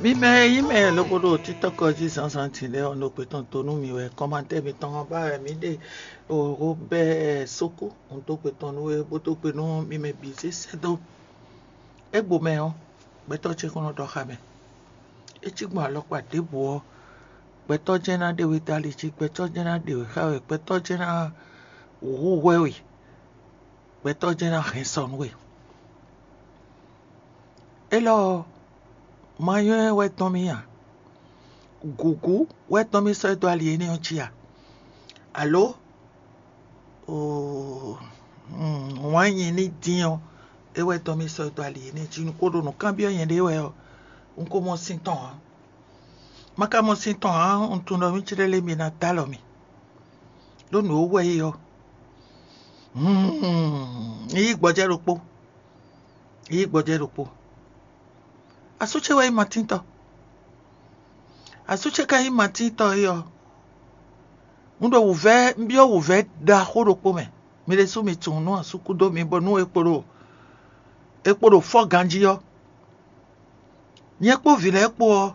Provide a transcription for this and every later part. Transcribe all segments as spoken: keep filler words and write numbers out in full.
Mi mɛ e nyí mɛ lobo ɖo títɔ́kɔ jí zǎnzǎn din lɛ́ɛ ɔ́, nɔ gbetɔn dó nú mi wɛ. Kɔmatɛ́ mitɔn ɔ́ ba wɛ mǐ ɖe. Robɛ́ɛ Sókú, un dó gbe tɔn nú we, bó dó gbe nú mi mɛ bǐ zé sɛ́ dó. Égbomɛ ɔ́, gbɛtɔ́ ce kɔn nɔ ɖɔ xá mɛ. É cí gbɔn alɔkpa ɖěbǔ ɔ́, gbɛtɔ́ jɛ́n ná ɖe we dó ali jí, gbɛtɔ́ jɛ́n ná ɖe we xá we, gbɛtɔ́ jɛ́n ná hu hwɛ we, gbɛtɔ́ jɛ́n ná hɛn sɔ nú we. Élɔ́ ɔ́, ma nywɛ́ wɛ tɔn mì a? Gǔgú wɛ tɔn mì sɔ́ dó ali énɛ́ ɔ́ jí a? Alo wǎn nyi ní dín ɔ́, é wɛ tɔn mì sɔ́ dó ali énɛ́ jí? Un ko ɖo nǔ kanbyɔ́ nyɛɖée wɛ ɔ́, un ko mɔ sin tɔn ǎ. Ma ka mɔ sin tɔn ǎ, un tunwun ɖɔ mì céɖé lé mi ná dó alɔ mì, ɖó nǔ e wɛ é ɔ́, un yí gbɔjɛ́ ɖokpó, yí gbɔjɛ́ ɖokpó. Asú ce wɛ nyí Matíntɔ. Asú ce ka nyí Matíntɔ é ɔ́, un ɖo wǔvɛ́, un byɔ́ wǔvɛ́ ɖaxó ɖokpó mɛ. Mi ɖésú mi tunwun nú asú kú dó mi bónú é kpo ɖo é kpo ɖo fɔ́ ganjí ɔ́. Nyɛ kpó vǐ lɛ́ɛ kpó ɔ́,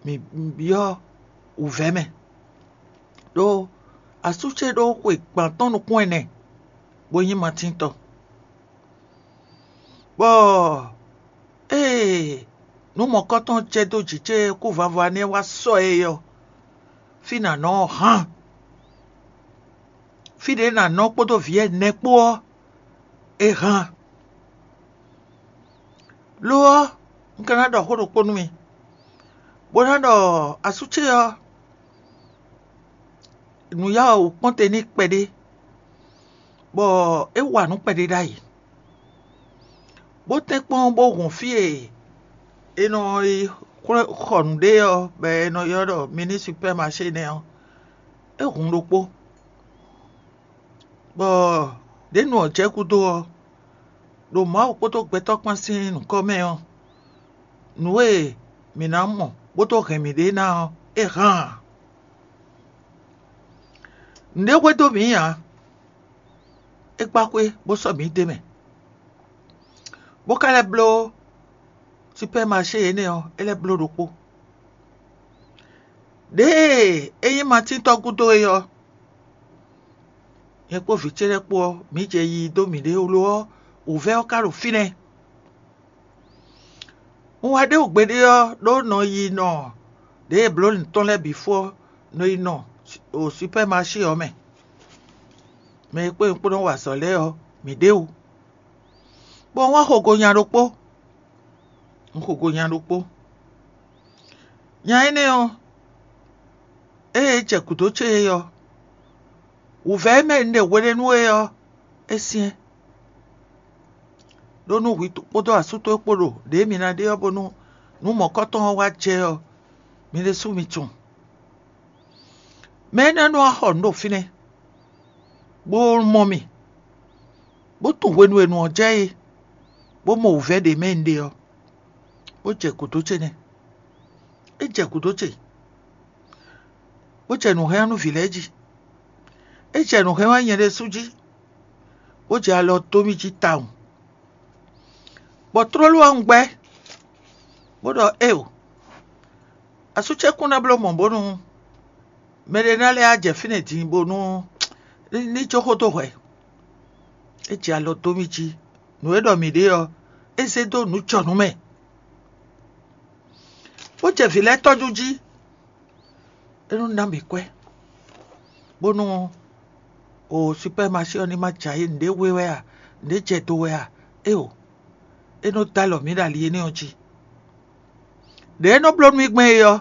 mǐ byɔ́ wǔvɛ́ mɛ, ɖó asú ce ɖó xwe gbǎn tɔn nukún ɛnɛ, bó nyí Matíntɔ. Bɔ ée nǔ mɔ̌kɔ́tɔn jɛ dó jǐ ce kúvava nɛ́ wá sɔ́ ɛ ɔ́, fí nǎ nɔ ɔ́ hán. Fí ɖě nǎ nɔ kpódó vǐ ɛnɛ kpó ɔ́, é hán. Lo ɔ́, un ka ná ɖɔ xó ɖokpó nú mi, bó ná ɖɔ asú ce ɔ́, nǔ ya wǔ kpɔ́n te n'i kpɛɖé, bɔ é wa nǔ kpɛɖé ɖ'ayǐ, bó tɛ́nkpɔ́n bó hun fí e è nɔ yi xɔ nǔ ɖe ɔ́, bɔ è nɔ ylɔ́ ɖɔ mini supɛ́maṣé nɛ́ ɔ́, é hun ɖokpó, bɔ ɖěnu ɔ́ jɛ gúdo ɔ́, ɖo Mawu kpódó gbɛtɔ́ kpán sín nǔkɔ mɛ ɔ́, nǔ e mǐ ná mɔ bó dó hɛn mǐɖée ná ɔ́, é hán ǎ. Nǔɖé hwedó mǐ ǎ; é gbá xwé bó sɔ́ mǐ d'é mɛ, bó ka lɛ́ bló supɛ́maṣé énɛ́ ɔ́, é lɛ́ bló ɖokpó. Ɖěe é nyí Matín tɔ́ gúdo é ɔ́, nyɛ kpó vǐ ce lɛ́ɛ kpó ɔ́, mǐ jɛ yiyi dó mǐɖée ó; lo ɔ́, wǔvɛ́ ɔ́ ka ɖo fínɛ́. Un wá ɖe wǔ gbeɖé ɔ́, ɖó nɔ yi nɔ ɖěe blǒ nǔ tɔn lɛ́ɛ bǐ fó ɔ́, nɔ yi nɔ ɖo supɛ́maṣé ɔ́ mɛ. Mɛ e kpó nyɛ kpó nɔ wa azɔ̌ lɛ́ɛ ɔ́, mǐ ɖe wǔ. Bɔ un wá xo go nya ɖokpó. Un xo go nya ɖokpó. Nya énɛ́ ɔ́, ée é jɛ gǔdo ce é ɔ́, wǔvɛ́ e mɛ un ɖe hweɖénu é ɔ́, é syɛ́n. Ɖó nú hwi kpódó asú towe kpó ɖo ɖě mi ná ɖe ɔ́, bónú nǔ mɔ̌kɔtɔn ɔ́ wá jɛ ɔ́, mi ɖésú mi tunwun. Mɛ énɛ́ nɔ wá xɔ nǔ ɖo fínɛ́, bó mɔ mì, bó tunwun hwenu e nǔ ɔ́ jɛ é, bó mɔ wǔvɛ́ ɖě mɛ un ɖe ɔ́, bó jɛ gǔdo ce nɛ́. É jɛ gǔdo ce, bó jɛ nǔ hɛn wá nú vǐ lɛ́ɛ jí. É jɛ nǔ hɛn wá nyɛ ɖésú jí, bó jɛ alɔ dó mì jí tawun. Bɔ tlóló ɔ́, un gbɛ́, bó ɖɔ: Éeǒ, asú ce kún ná bló mɔ̌ bónú mɛɖé ná lɛ́ á jɛ fínɛ́ din bónú ní jó xó dó hwɛ. É jɛ alɔ dó mì jí; nǔ e ɖɔ mǐ ɖe ɔ́, é zé dó nǔ jɔ nú mɛ, bó jɛ vǐ lɛ́ɛ tɔ́jú jí. É nɔ ná mǐ kwɛ́, bónú o supɛ́maṣé ɔ́ ní ma jɛ ayé nǔɖé we wɛ a, nǔɖé jɛ do wɛ a? Éeǒ, é nɔ dó alɔ mǐ ɖo ali énɛ́ ɔ́ jí. Ɖě é nɔ bló nú mì gbɛn é ɔ́,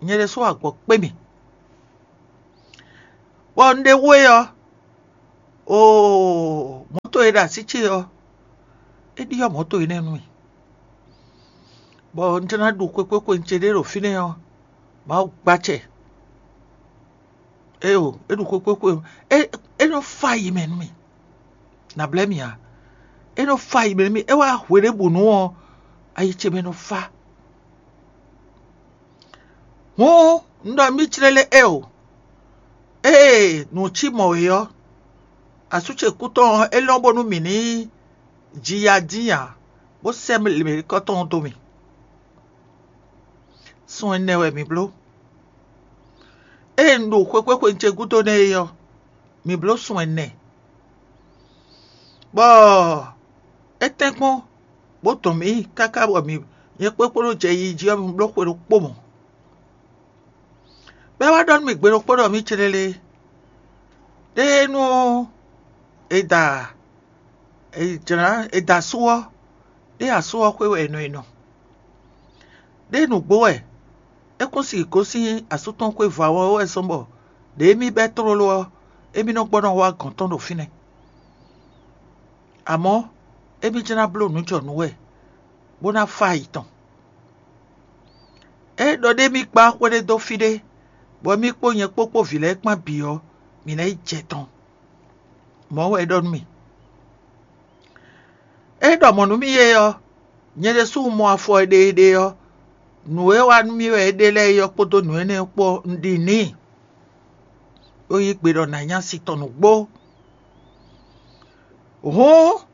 nyɛ ɖésú agbɔ̌ kpé mì. Bɔ un ɖe wú é ɔ́, oo, mɔ̌to e ɖo así ce ɔ́, é ɖyɔ́ mɔ̌to énɛ́ nú mì, bɔ un jló ná ɖu xwekpékwe ce ɖé ɖo fínɛ́ ɔ́, Mawu gbá acɛ. Éeǒ, é ɖu xwekpékwe, é é nɔ fá ayi mɛ nú mì. Nǎ blɛ́ mì ǎ; é nɔ fá ayi mɛ nú mì. É wá hweɖěbǔnu ɔ́, ayi ce mɛ nɔ fá. Hǔn un ɖɔ mì clélé éeǒ, ée nǔ cí mɔ̌ é ɔ́, asú ce kú tɔn ɔ́, é lɔ́n bónú mǐ ní ji ya dín ǎ, bó sɛ́ mɛ̌likɔ́ tɔn ɔ́ dó mì. Sun ɛnɛ wɛ mǐ bló. Ée un ɖo xwekpéxwenu ce gúdo nɛ́ é ɔ́, mǐ bló sun ɛnɛ, bɔ é tɛ́nkpɔ́n bó dɔn mǐ káká bɔ mǐ nyɛ kpó kpódó jɛ yiyi jí ɔ́, mǐ bló xwe ɖokpó mɔ̌. Bɔ é wá ɖɔ nú mì gbe ɖokpó ɖɔ mǐ céɖéɖé, ɖé nú è da è jlǎ è da asú ɔ́, ɖé asú ɔ́ xwé wɛ è nɔ è nɔ. Ɖé nǔgbó wɛ, é kún si gosín asú tɔn xwé vǎ ɔ́ wɛ zɔ́n bɔ ɖě émí bɛ́ tlóló ɔ́, émí nɔ gbɔ nɔ wá gɔ̌n tɔn ɖo fínɛ́. Amɔ̌, émí jlá bló nǔ jɔ nǔ wɛ, bó ná fá yi tɔn. É ɖɔ ɖ'émí kpá xwé ɖé dó fí ɖé, bɔ émí kpó nyɛ kpó kpó vǐ lɛ́ɛ kpán bǐ ɔ́, mǐ ná yi jɛ tɔn. Mɔ̌ wɛ é ɖɔ nú mì. É ɖɔ mɔ̌ nú mì é ɔ́, nyɛ ɖésú un mɔ afɔ e ɖe é ɖe ɔ́, nǔ e wa nú mì wɛ é ɖe lɛ́ɛ é ɔ́ kpódó nǔ énɛ́ ɔ́ kpó un ɖi n'i, bó yí gbe ɖɔ nǎ nya si tɔn nǔgbó. Hǔn,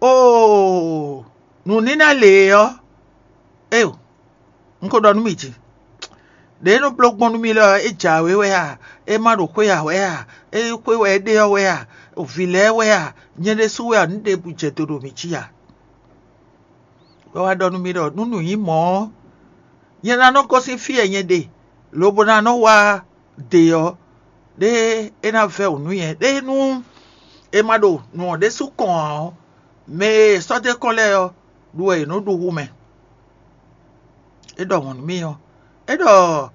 oo, nǔníná lě ɔ́, éeǒ, un ko ɖɔ nú mì jí. Đě é nɔ bló gbɔn nú mì lɛ́ɛ ɔ́, é jǎwe wɛ a? É ma ɖo xwé ǎ wɛ a? É xwé wɛ é ɖe ɔ́ wɛ a? Vǐ lɛ́ɛ wɛ a? Nyɛ ɖésú wɛ a? Nǔ ɖěbǔ jɛ do ɖo mǐ jí a? Bɔ é wá ɖɔ nú mì ɖɔ nú nǔ nyí mɔ̌ ɔ́, nyɛ ná nɔ gosín fí e nyɛ ɖe, lobo ná nɔ wá ɖe ɔ́, ɖé é ná vɛ́ wǔ nú nyɛ. Ɖé nú è ma ɖo nǔ ɔ́ ɖésú kɔn ǎ ɔ́, mɛ e è sɔ́ dó kɔn lɛ́ɛ ɔ́, ɖu wɛ yě nɔ ɖu hú mɛ. É ɖɔ mɔ̌ nú mì ɔ́, é ɖɔ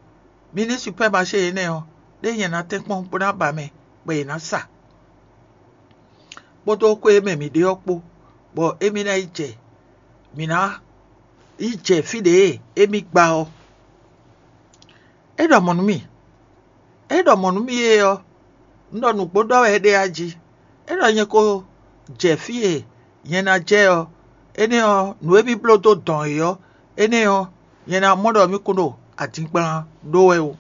mi ní supɛ́maṣé énɛ́ ɔ́, ɖé nyɛ ná tɛ́nkpɔ́n bó ná ba mɛ, bɔ yě ná sa, kpódó xwé e mɛ mǐ ɖe ɔ́ kpó, bɔ émí ná yi jɛ mǐ ná yi jɛ fí ɖě e émí gba ɔ́. É ɖɔ mɔ̌ nú mì. É ɖɔ mɔ̌ nú mì é ɔ́, un ɖɔ nǔgbó ɖɔ wɛ é ɖe a jí. É ɖɔ nyɛ ko jɛ fí e nyɛ ná jɛ ɔ́, énɛ́ ɔ́, nǔ e mì bló dó dɔn é ɔ́, énɛ́ ɔ́, nyɛ ná mɔ ɖɔ mì kún ɖo adingban ɖó wɛ ó.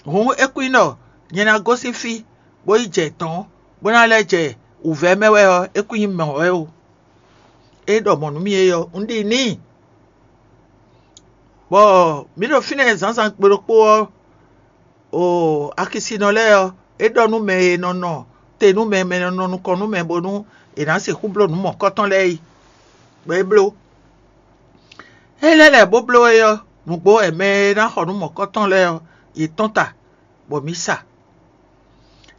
Hǔn é kún nyí ɖɔ nyɛ ná gosín fí, bó yi jɛ dɔ̌n, bó ná lɛ́ jɛ wǔvɛ́ mɛ wɛ ɔ́, é kún nyí mɔ̌ wɛ ó. É ɖɔ mɔ̌ nú mì é ɔ́, un ɖi n'i. Bɔ mǐ ɖo fínɛ́ zǎnzǎn gbe ɖokpó ɔ́, o Akisinɔ lɛ́ɛ ɔ́, é ɖɔ nú mɛ e nɔ nɔ te nú mɛ, mɛ e nɔ nɔ nukɔn nú mɛ bónú è nǎ sixú bló nǔ mɔ̌kɔtɔn lɛ́ɛ é, bɔ é bló. Énɛ́ lɛ́ɛ bó bló é ɔ́, nǔgbó wɛ mɛ e ná xɔ nǔ mɔ̌kɔtɔn lɛ́ɛ ɔ́, yě tɔ́n ta, bɔ mǐ sa.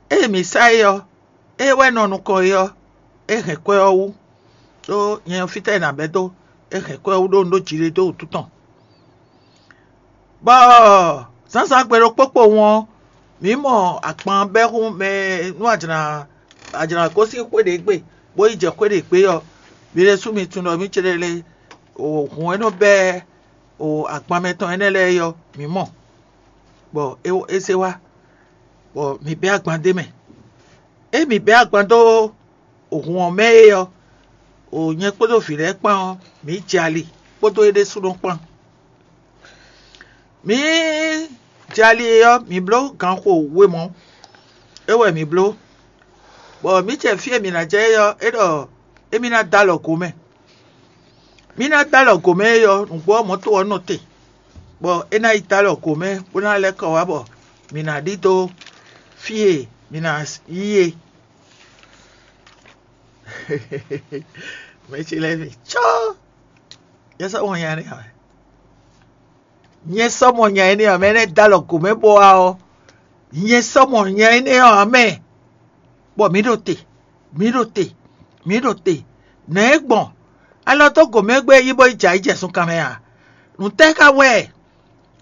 Ée mǐ sa é ɔ́, é wɛ nɔ nukɔn é ɔ́, é hɛn kwɛ́ ɔ́ wú, ɖó nyɛ ɔ́, fítɛ́ è nǎ bɛ́ dó? É hɛn kwɛ́ ɔ́ wú ɖó un ɖó jiɖe dó wǔtu tɔn. Bɔ zǎnzǎn gbe ɖokpó kpowun ɔ́, mǐ mɔ agban bɛ́ hún mɛ nú ajlǎn ajlǎn gosín xwé ɖě gbe, bó yi jɛ xwé ɖě gbe ɔ́, mi ɖésú mi tunwun ɖɔ mǐ céɖéɖé o hǔn e nɔ bɛ́ o agban mɛtɔn énɛ́ lɛ́ɛ é ɔ́, mǐ mɔ, bɔ é é zé wá, bɔ mǐ bɛ́ agban d'é mɛ. Ée mǐ bɛ́ agban dó hǔn ɔ́ mɛ é ɔ́, o nyɛ kpódó vǐ lɛ́ɛ kpán ɔ́, mǐ jɛ ali kpódó é ɖésúnɔ kpán. Mǐ jɛ ali é ɔ́, mǐ bló ganxo we mɔ̌. É wɛ mǐ bló, bɔ mǐ jɛ fí e mǐ ná jɛ é ɔ́, é ɖɔ émí ná dó alɔ gǒ mɛ. Mǐ ná dó alɔ gǒ mɛ é ɔ́, nǔgbó ɔ́ mɔ̌to ɔ́ nɔ te, bɔ é ná yi dó alɔ gǒ mɛ bó ná lɛ́ kɔ wá bɔ mǐ ná ɖidó fí e mǐ ná yí é. Mɛ ce lɛ́ɛ mi cɔ́, nyɛ sɔ́ mɔ nya énɛ́ ɔ́ mɛ. Nyɛ sɔ́ mɔ nya énɛ́ ɔ́ mɛ, énɛ́ dó alɔ gǒ mɛ bó wá ɔ́, nyɛ sɔ́ mɔ nya énɛ́ ɔ́ ǎ mɛ, bɔ mǐ ɖo te, mǐ ɖo te, mǐ ɖo te. Nɛ̌ é gbɔn? Alɔ dó gǒ mɛ gbé yí bó yi jɛ ayǐ jɛ sunkan mɛ a? Nǔ tɛ́ ka wɛ?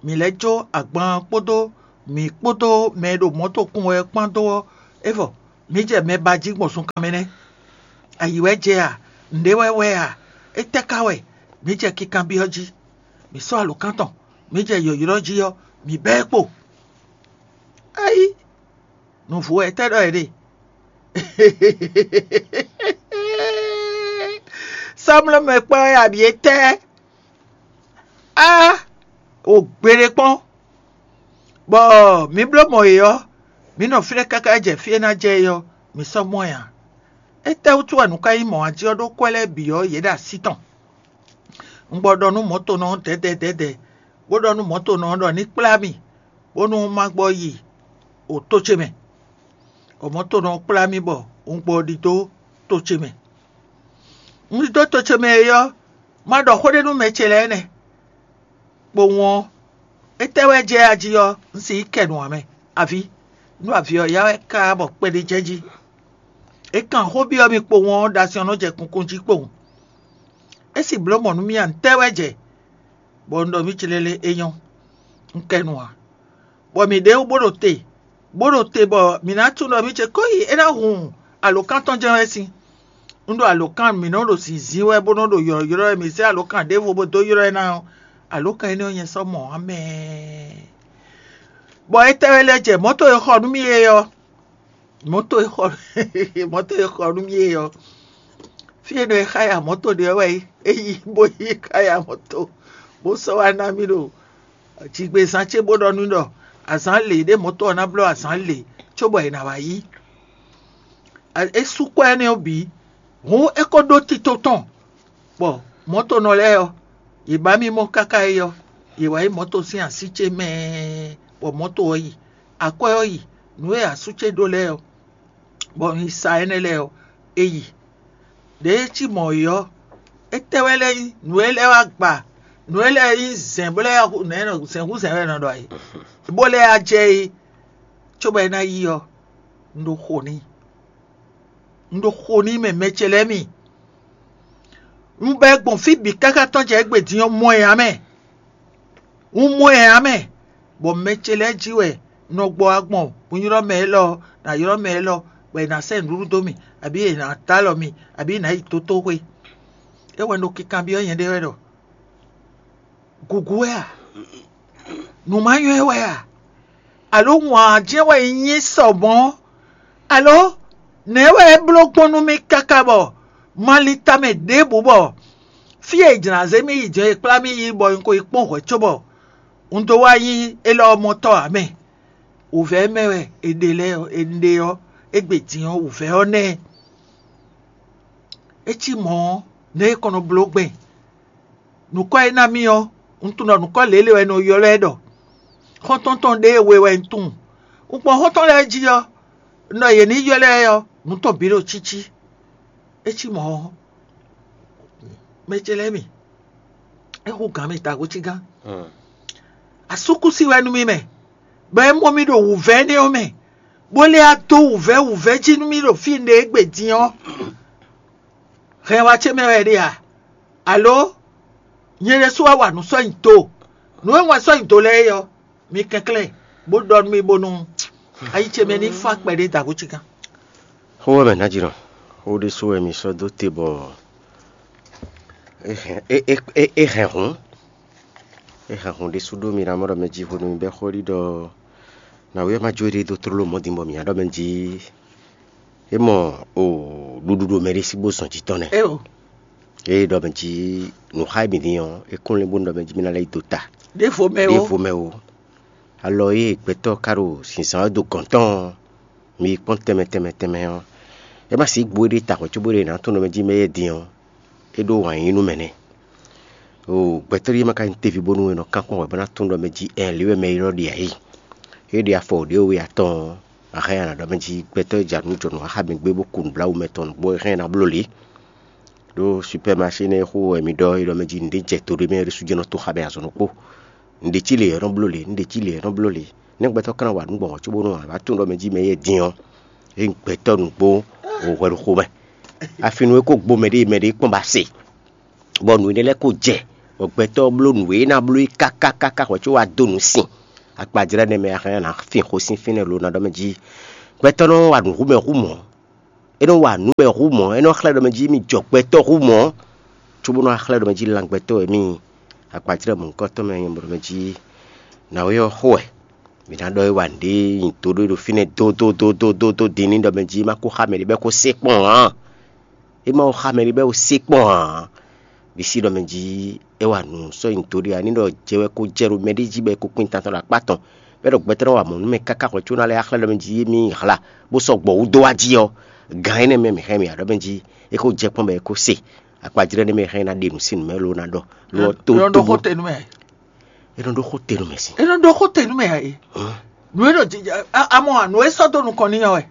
Mǐ lɛ́ jó agban ɔ́ kpódó mǐ kpódó mɛ e ɖo mɔ̌to kún wɛ ɔ́ kpán dó ɔ́, é vɔ mǐ jɛ mɛ ba jí gbɔn sunkan mɛ nɛ́. Ayǐ wɛ jɛ a? Nǔɖé wɛ wɛ a? Étɛ́ ka wɛ? Mǐ jɛ kinkanbyɔ́ jí. Mǐ sɔ́ alǒkan tɔn, mǐ jɛ yɔ̌yrɔ́ jí ɔ́, mǐ bɛ́ ɛ kpo. Ayi, nǔvú wɛ tɛ́ ɖɔ è ɖe? Sɔ́mlɔ́mɛ kpɔ́n wɛ abǐ étɛ́? Á, o gbeɖé kpɔ́n, bɔ mǐ bló mɔ yě ɔ́, mǐ nɔ fínɛ́ káká jɛ fí e ná jɛ é ɔ́, mǐ sɔ́ mɔ ɛ ǎ. Étɛ́wútu wɛ nǔ ka nyí mɔ̌ ǎ jí ɔ́ ɖó kwɛ́ lɛ́ɛ bǐ ɔ́, yě ɖo así tɔn? Un gbɔ ɖɔ nú mɔ̌tonɔ ɔ́ dɛ̌dɛ̌ dɛ̌dɛ̌, bó ɖɔ nú mɔ̌tonɔ ɔ́ ɖɔ ní kplá mì, bónú má gbɔ yi o tó ce mɛ. Bɔ mɔ̌tonɔ ɔ́ kplá mì bɔ un gbɔ ɖidó tó ce mɛ. Un ɖidó tó ce mɛ é ɔ́, má ɖɔ xó ɖé nú mɛ ce lɛ́ɛ nɛ́. Kpowun ɔ́, étɛ́ wɛ jɛ ají ɔ́, un si yi kɛ nǔ ǎ mɛ. Avǐ, nú avǐ ɔ́ ya wɛ ká bɔ kpɛɖé jɛ jí. É kan xó byɔ́ mì kpowun ɔ́, ɖo asyɔ́ nɔ jɛ kunkun jí kpowun. É si blǒ mɔ̌ nú mì a, ntɛ́ wɛ jɛ, bɔ un ɖɔ mì célélé é nyɔ́, un kɛ nu ǎ. Bɔ mǐ ɖe wú bó ɖo te, bó ɖo te bɔ mǐ ná tunwun ɖɔ mì ce ko yi é ná hun alǒkan tɔn jɛ́n wɛ sín. Un ɖo alǒkan mǐ nɔ ɖo zǐnzín wɛ bó nɔ ɖo ylɔ̌ylɔ́ wɛ, mǐ zé alǒkan ɖěvo bó dó ylɔ́ ɛ ná ɔ́, alǒkan énɛ́ ɔ́ nyɛ sɔ́ mɔ ǎ mɛ. Bɔ étɛ́ wɛ lɛ́ jɛ mɔ̌to e xɔ nú mì é ɔ́, mɔ̌to e xɔ mɔ̌to e xɔ nú mì é ɔ́, fí e nɔ e xá ya mɔ̌to ɖe ɔ́ wɛ é yi bó yi xá ya mɔ̌to, bó sɔ́ wá ná mì ɖo jigbezán ce bó ɖɔ nú ɖɔ azǎn lě ɖé mɔ̌to ɔ́ ná bló azǎn lě cóbɔ è nǎ wá yí. É sú kwɛ́ énɛ́ ɔ́ bǐ, hǔn é ko ɖó tito tɔn, bɔ mɔ̌tonɔ lɛ́ɛ ɔ́, yě ba mì mɔ káká é ɔ́, yě wá yi mɔ̌to sín así ce mɛ, bɔ mɔ̌to ɔ́ yi, akwɛ́ ɔ́ yi, nǔ e asú ce ɖó lɛ́ɛ ɔ́, bɔ un yi sa énɛ́ lɛ́ɛ ɔ́, é yi. Đěe cí mɔ̌ é ɔ́, étɛ́ wɛ lɛ́ nyí nǔ e lɛ́ wá gba, nǔ e lɛ́ nyí zɛ̌n bó lɛ́ zɛ̌n hú zɛ̌n wɛ è nɔ ɖɔ é, bó lɛ́ wá jɛ é, cóbɔ é ná yi ɔ́, un ɖo xo n'i. Un ɖo xo n'i mɛ mɛ ce lɛ́ɛ mi. Un bɛ́ gbɔn fí bǐ káká tɔn jɛ égbé din ɔ́, mɔ ɛ ǎ mɛ. Un mɔ ɛ ǎ mɛ, bɔ mɛ ce lɛ́ɛ jí wɛ un nɔ gbɔ wá gbɔn, un ylɔ́ mɛ élɔ́, nǎ ylɔ́ mɛ élɔ́, bɔ è nǎ sɛ́ nǔɖuɖu dó mì, abǐ è nǎ dó alɔ mì, abǐ è nǎ yi tótóxwé. É wɛ un ɖo kinkanbyɔ́ nyɛɖée wɛ ɖɔ: Gǔgú wɛ a? Nǔ ma nyɔ́ ɛ wɛ a? Alǒ wǎn jɛ́n wɛ nyí sɔ mɔ̌? Alǒ nɛ̌ wɛ é bló gbɔn nú mì káká bɔ ma lin tamɛ ɖěbǔ bɔ fí e è jlǎ zé mì yi jɛ e kplá mì yi bɔ un ko yi kpɔ́n hwɛ̌ cóbɔ un dó wá nyí élɔ́ ɔ́ mɔtɔ́ ǎ mɛ? Wǔvɛ́ mɛ wɛ è ɖe lɛ́ɛ ɔ́, è ɖe ɔ́, égbé din ɔ́, wǔvɛ́ ɔ́ nɛ́. É cí mɔ̌ ɔ́, nɛ̌ è kɔn nɔ bló gbɛn? Nǔkɔ e ná mì ɔ́, un tunwun ɖɔ nǔkɔ lěle wɛ è nɔ ylɔ́ ɛ ɖɔ xɔ́ntɔn tɔn ɖéwe wɛ un tunwun. Un kpɔ́n xɔ́ntɔn lɛ́ɛ jí ɔ́, un ɖɔ yě ní ylɔ́ ɛ ɔ́, nǔ tɔn bǐ ɖo cící. É cí mɔ̌ ɔ́, mɛ ce lɛ́ɛ mi, é hú gǎn mì tago cí gán. Asúkúsi wɛ nú mì mɛ, bɔ é mɔ mì ɖo wǔvɛ́ énɛ́ ɔ́ mɛ, bó lɛ́ wá dó wǔvɛ́ wǔvɛ́ jí nú mì ɖo fí un ɖe égbé din ɔ́. Hɛn wá ce mɛ wɛ é ɖe a? Alo nyɛ ɖésú wá wa nǔ sɔ́ nyi do? Nǔ e wɛn sɔ́ nyi do lɛ́ɛ é ɔ́, mi kɛnklɛ́n, bó ɖɔ nú mì bónú ayi ce mɛ ní fá kpɛɖé dǎgó ce gán. Xó wɛ mɛ ná jínɔ, xó ɖésú wɛ mi sɔ́ dó te bɔ é hɛn é é é é hɛn hǔn. É hɛn hǔn ɖésú ɖó mi ná mɔ ɖɔ mɛ jí hwenu mi bɛ́ xó ɖi ɖɔ nǎwe ɔ́ ma jó éɖée dó tlóló mɔ̌ din bɔ mǐ ná ɖɔ mɛ jí é mɔ o ɖuɖu ɖo mɛ ɖé sí bó zɔn jǐ tɔn nɛ́. Éo, Ée ɖɔ mɛ jí nǔ xa e mǐ din ɔ́, é kún lɛ́ bónú ɖɔ mɛ jí mì ná lɛ́ yi do ta ɖěvo mɛ ó. Ɖěvo mɛ ó. Alɔ e gbɛtɔ́ ka ɖo zǐnzán ɔ́ dó gɔ̌n tɔn ɔ́, mi yi kpɔ́n tɛnmɛ tɛnmɛ tɛnmɛ ɔ́, é ma sixú gbó éɖée ta hwɛ̌ cóbó ɖe è nǎ tunwun ɖɔ mɛ jí mɛ éyɛ́ din ɔ́, é ɖó wǎn yíyí nú mɛ nɛ́. O gbɛtɔ́ ɖíe ma ka nyí teví bónú è nɔ kán kpɔ́n hwɛ̌ bó ná tunwun ɖɔ mɛ jí ɛɛn lě wɛ mɛ élɔ́ ɖe ǎ é. É ɖe afɔ ɖě we atɔn ɔ́, a hɛn a nǎ ɖɔ mɛ jí gbɛtɔ́ e ja nǔ jɔ nǔ xá mɛ gbé bó ku nǔbláwǔ mɛ tɔn nǔgbó é hɛn ná bló lě. Ɖó supɛ́maṣé nɛ́ e xó wɛ mi ɖɔ é ɖɔ mɛ jí nǔɖé jɛ to ɖé mɛ ɖésú jɛ́n nɔ to xá mɛ azɔn ɖokpó. Nǔɖé cí lě ɔ́ nɔ bló lě, nǔɖé cí lě ɔ́ nɔ bló lě. Nɛ́ gbɛtɔ́ ka ná wa nǔ gbɔn hɔn cóbónú a nǎ tunwun ɖɔ mɛ jí mɛ éyɛ́ din ɔ́, é nyí gbɛtɔ́ nǔgbó hwɛɖuxomɛ. Afinu e ko gbo mɛ ɖé mɛ ɖé kpɔ́n ba se, bɔ nǔ énɛ́ lɛ́ɛ ko jɛ, bɔ gbɛtɔ́ ɔ́ bló nǔ e é ná bló é káká káká hwɛ̌ có wá dó nǔ sin. Akpajlɛ́ nɛ́ mɛ a hɛn ɔ́, nǎ fin xó sín fínɛ́ lo ná ɖɔ mɛ jí gbɛtɔ́ nɔ wa nǔ hú mɛ hú mɔ̌. É nɔ wa nǔ wɛ hú mɔ̌, é nɔ xlɛ́ ɖɔ mɛ jí mì jɔ gbɛtɔ́ hú mɔ̌, cóbó nɔ wá xlɛ́ ɖɔ mɛ jí lan gbɛtɔ́ wɛ mì. Akpajlɛ́ mɔ̌hunkɔtɔn mɛ nyɛ ɖɔ mɛ jí nǎwe ɔ́ xo wɛ. Mǐ ná ɖɔ é wa nǔɖé nyi do ɖó é ɖo fínɛ́ dódódódódó din ní ɖɔ mɛ jí é má kó xá mɛ ɖé bɔ é kó sé kpɔ́n ǎ. É má xá mɛ ɖé bɔ é kó sé kpɔ́n ǎ. Ɖi sí ɖɔ mɛ jí é wa nǔ sɔ́ nyi do ɖé ǎ ní ɖɔ jɛ wɛ kó jɛ ɖo mɛ ɖé jí bɔ é kó kpín tantɔn ɖo akpá tɔn. Bɔ é ɖɔ gbɛtɔ́ nɔ wa mɔ̌ nú mɛ káká hwɛ̌ có ná lɛ́ axlɛ́ ɖɔ mɛ jí émí hla bó sɔ́ gbɔ wú dó wá jí ɔ́, gǎn énɛ́ mɛ mǐ hɛn mì ǎ ɖɔ mɛ jí é kó jɛ kpɔ́n bɔ é kó se. Akpajlɛ́ nɛ́ mɛ hɛn ná ɖe nǔ sín nǔ mɛ ló ná ɖɔ. Ló ɔ tó Nɔ ɖo xó te nú mɛ. É nɔ ɖó xó te nú mɛ sín. É nɔ ɖó xó te nú mɛ ɛ. Nǔ e ɖo jija amɔ nǔ e sɔ́ dó nukɔn n'i ɔ́ wɛ.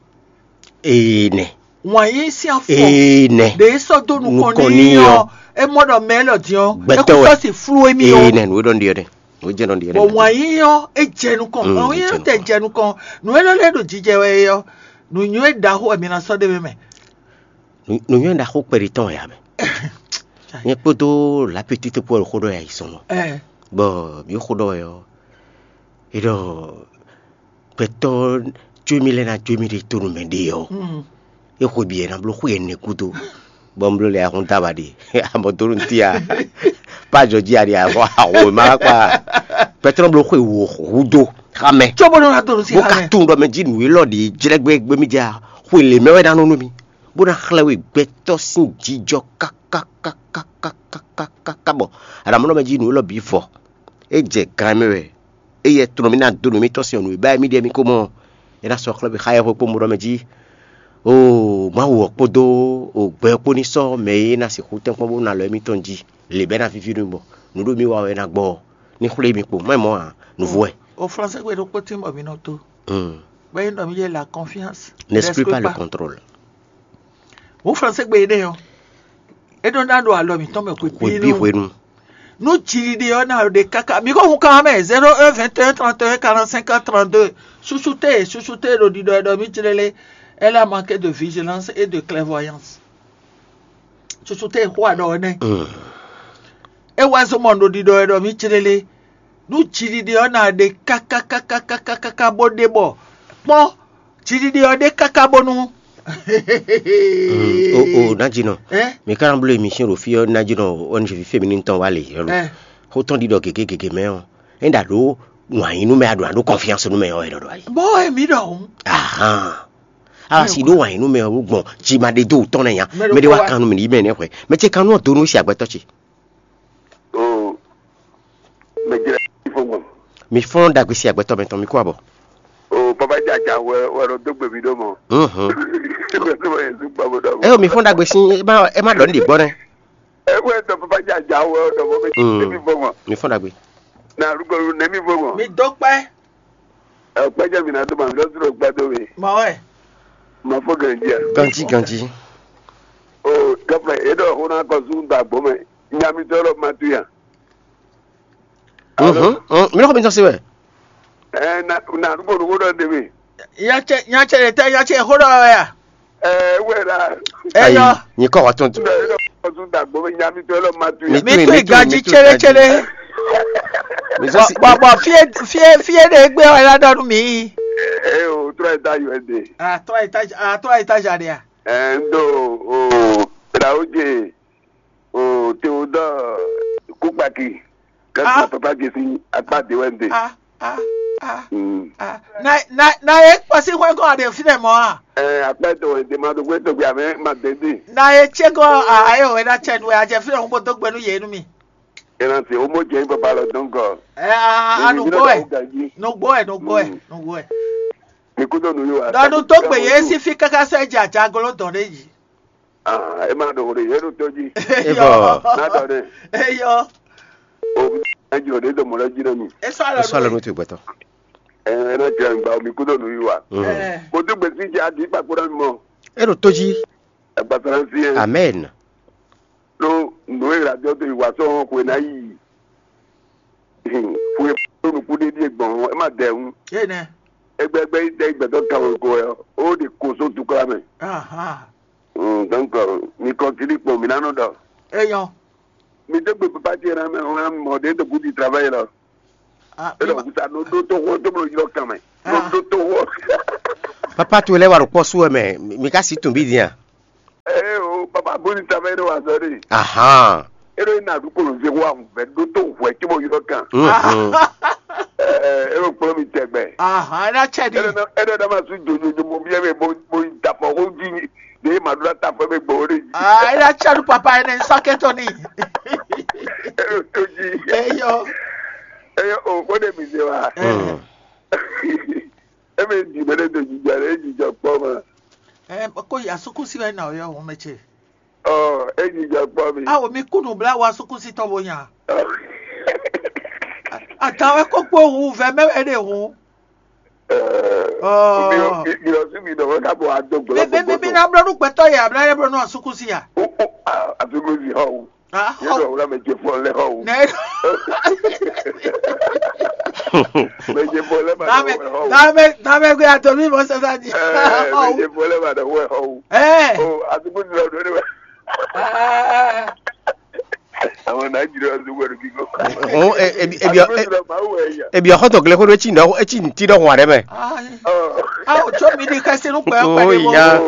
Ee nɛ. Wǎn yí sín afɔ. Ee nɛ. Ɖe e sɔ́ dó nukɔn n'i ɔ́, é mɔ ɖɔ mɛ élɔ́ din ɔ́, é kú sɔ́ si flú émí ɔ́. Ee nɛ, nǔ e ɖɔ nɖi ɔ́ nɛ. Nǔ e jɛ nɔ ɖi ɔ́ nɛ. Bɔ wǎn yí ɔ́, é jɛ nukɔn. Wǎn yí ɔ́ tɛ jɛ nukɔn. Nǔ e ɖɔ lɛ́ɛ ɖo jijɛ wɛ é ɔ́, nǔ nywɛ́ ɖaxó wɛ mi ná sɔ́ ɖ'é mɛ. Nǔ nywɛ́ ɖaxó kpɛɖi tɔn wɛ ǎ mɛ. Nyɛ kpódó lapetite kpó wɛ xó ɖɔ yɛ ayizɔn mɔ. Bɔ mǐ xó ɖɔ wɛ ɔ́, é ɖɔ gbɛtɔ́ jó mì lɛ́ɛ ná jó mì ɖe tónú mɛ ɖe ɔ́, é xwe bǐ yɛ ná bló xwe ɛnɛ gúdo, bɔ un bló lɛ ahun dó aba ɖe. Amɔ dó nú tía. Pá jɔ jí aɖi ahun ahun ma kpa. Gbɛtɔ́ bló xwe wò húdo xá mɛ. Cóbó nɔ ná dó nú sí bó xá ka mɛ. Tunwun ɖɔ mɛ jí nǔ élɔ́ ɖě jlɛ́ gbé gbé mì jɛ xwe lě mɛ wɛ ná nɔ nú mì, bó ná xlɛ́ we gbɛtɔ́ sín jijɔ kákákákákákákáká bɔ aɖamunɔ mɛ jí nǔ élɔ́ bǐ vɔ. É jɛ gan mɛ wɛ. Éyɛ́ tlɔ́n mì ná dó nǔ émítɔn sín ɔ́, nǔ e ba wɛ mì ɖe mì ko mɔ ɔ́, é ná sɔ́ xlɛ́ mì xá yɛhwe kpó mɔ ɖɔ mɛ jí. Oo, Mawu ɔ́ kpódó gbɛ ɔ́ kpó ní sɔ́ mɛ e ná sixú tɛ́nkpɔ́n bó ná lɔ émítɔn jí. Lě bɛ́ ná víví nú mì bɔ nǔ ɖo mì wa wɛ ná gbɔ ɔ́, ní xwlé mi kpo. Má mɔ ǎ, nǔvú wɛ. O français gbe ɖokpó tín bɔ mi nɔ tó. Hmm. Bɔ é ɖɔ mi yé la confiance. N'exclus pas le contrôle. Wǒ Fransé gbe énɛ́ ɔ́, é nɔ ná ɖo alɔ mǐtɔn mɛ xwebǐnu. Nú jiɖiɖe ɔ́ ná ɖe káká, mi ko hun kan mɛ zéro un vingt et un trente et un quarante-cinq trente-deux. Susu te, susu te ɖo ɖiɖɔ e ɖɔ mì jlélé, elle a manqué de vigilance et de clairvoyance. Susu te xó aɖɔ ɔ́ nɛ́. É wá zɔ́ mɔ ɖo ɖiɖɔ e ɖɔ mì jlélé. Nú jiɖiɖe ɔ́ ná ɖe káká káká káká káká bó ɖe bɔ kpɔ́n, jiɖiɖe ɔ́ ɖe káká bónú. O o, Nǎjínɔ, mi ka ná bló émission ɖo fí ɔ́, Nǎjínɔ, O N G ví féminine tɔn wá lě ɔ́ lo. Xó tɔn ɖiɖɔ gěgé gěgé mɛ ɔ́, é ɖa ɖǒ wǎn yí nú mɛ, a ɖǒ ná ɖó confiance nú mɛ ɔ́, é ɖɔ ɖo ayi. Bó wɛ mǐ ɖɔ hǔn. Ahan. A wá si ɖó wǎn yí nú mɛ ɔ́ gbɔn ji ma ɖe dó wǔ tɔn nɛ́ nya. Mɛ ɖé wá kan nú mì ní mɛ nɛ́ hwɛ. Mɛ ce kan nú ɔ́ do nú sí agbɛtɔ́ ce. O mɛ jlɛ ifo gbɔn. Mi fɔ́n ɖagbe sí agbɛtɔ́ mɛtɔn, mi kú abɔ. O papa jaja wɛ wɛ ɖo dó gbe mi ɖó mɔ. Mhm. Wɛ tó wɛ Yesu gbɔ bó ɖɔ mɔ. Ɛ o, mi fɔ́n ɖagbe sí, ɛ má ɛ má ɖɔ ní ɖi gbɔ nɛ. Ɛ wɛ tɔ papa jaja wɛ ɖɔ mɔ bɛ Mm. Tɛ mi fo gbɔn. Mi fɔ́n ɖagbe. Na arúgbó nɛ mi fo gbɔn. Mi dó kpɛ́. Ɛ kpɛjɛ mi na dó ma mi lɔ dúró gbɛ dó mi. Mɔ wɛ. Ma fo ganji a. Ganji ganji. O gafla e ɖɔ xó ná kɔ zún da gbɔ mɛ. Nya mi tɔ lɔ ma tu ya. Mhm. Mm, mi lɔ xɔ mi tɔn se wɛ. Ɛ na na arúgbó ɖokpó ɖɔ dé mi. Nyatsɛ nyatsɛ ɖe tɛ nyatsɛ xó ɖɔ wɛ ya. Ɛ wɛ la. Eyɔ. Ayi, nyi kɔ wa tɔn. Ɛ ɖɔ kɔ zún da gbɔ mɛ nya mi tɔ lɔ ma tu ya. Mi Mi tu mi tu ganji mi tu tsélétshélé. Mi zɔ si. Bɔ bɔ fie fie fie ɖe gbé wɛ la ɖɔ nú mi. Ɛ o trɔ eta U S D. Ah, trɔ eta ah trɔ eta ja ɖe ya. Ɛ n do o Traoje o Theodore Kukpaki. Kɛsí papa Jesi akpa de wɛ n de. Ah ah ah. Mm. Ah. Na na na ye kpɔsi hwɛ gɔn a ɖe fi nɛ mɔ a. Ɛ akpa de wɛ n de ma do gbé tɔgbe amɛ ma de de. Na ye tse gɔn a aye o wɛ na tsɛ nu wɛ a jɛ fi nɛ ŋun bo do gbe nu ye nu mi. Ena se o mo jɛ papa lɔ dɔn kɔ. Ɛ a a nugbo wɛ nugbo wɛ nugbo wɛ nugbo wɛ. Mi kú dɔn nu yóò wá. Dɔnu tó gbe ye si fi kaka sɛ dzi adzagolo dɔn ɖe yi. Ah, e ma ɖo ɖe yɛ ɖo tɔ dzi. Eyɔ. Na dɔ ɖe. Eyɔ. O na jɔ ɖe dɔ mɔ lɛ dzi na mi. Esɔ alɔ Esɔ alɔ nu. Nu tu gbɛtɔ. Ɛ ɛ na jɛ ŋgba mi kú dɔn nu yóò wá. Mm. Ɛ Mo dún gbèsè jẹ adi kpakpo na mi mɔ. E ɖo tó dzi. Ẹgbàtà na fi yẹn. Amen. Ɖó nǔ e ɣla jɔ dó yi wǎ sɔ́ hɔn xwe ná yi. Xwe ɖó nukún ɖé ɖíe gbɔn ɔ́, é má dɛ wú. Énɛ́. Égbɛ́gbɛ́ yi dɛ yi gbɛtɔ́ kan wɛ ko wɛ ɔ́, ó ɖe ko só tukla mɛ. Ahan. Mm, donc, mi kɔntinue kpɔn, mi ná nɔ ɖɔ. Eyɔn. Mi dé gbe papa ce ná mɛ, ɔn, mɔ ɖe dɔ gudi travail lɔ. Ah, É ɖɔ mi ma- kusa nɔ ɖó tó xó tó bló ylɔ kan mɛ. Nɔ Ah. Ɖó tó xó. Papa towe lɛ́ wá ɖo kpɔ́ sú wɛ mɛ, mi ka si tun bí din a? Ee o, papa gudi travail ɖo wazɔ ɖe. Ahan. É ɖo na ɖu kolo zé wa vɛ ɖó tó hwɛ tí mo ylɔ kan. Mhm. Ee, é ɖo kplɔ́ mi tɛgbɛ. Ahan, é ná tsɛ É ɖi. Ɖo na é ɖo na ma su jojojo mo biɛ mɛ mo mo da fɔ xó jí ɖe ma ɖo na ta fɔ mɛ gbɔ ɖe jí. Ah, é ná tsɛ ɖu papa énɛ́ sɔ́ kɛtɔ ní. É ɖo tó jí. Eyɔ. Eye o kó ɖe mi se wa. Mm. Eme di mɛ ɖe do jijɔ ɖe jijɔ kpɔ ma. Ɛ kó yasukusi wɛ na yɔ wɔn mɛ ce. Ɔ, é jijɔ kpɔ mi. Awo mi kú nǔbláwá súkúsítɔ́ bó nya. Atan wɛ kó kpó hu vɛ mɛ wɛ ɖe hu. Ɔ, mi ɔ mi mi ɔ sí mi dɔ̀wọ́ ká bọ̀ adó gbọ́dọ̀. Bébé mi mi na blɔ nú gbɛtɔ yɛ abla yɛ blɔ nú asúkúsí ya. Ó ó a àsúkúsí hàn o. Ah, yóò dọ̀ wúlò mẹ jẹ fún ọ lẹ́hàn o. Nẹ. Mẹ jẹ fún ọ lẹ́hàn Dame, o. Dame, dame gbé atọ mi mọ sẹsẹ di. Ẹ mẹ jẹ fún ọ lẹ́hàn o. Ẹ. O àsúkúsí lọ dúró níbẹ̀. Àwọn Nàìjíríà ló wẹ̀rù kíkọ́. Òun ebi ebi ebi ọkọ tó gẹlẹ kó ló etí nọ etí ntí dọ hùn àdẹ mẹ. Awo tso mi di kẹsí nú pẹ́ pẹ́ de mo. Ìyá.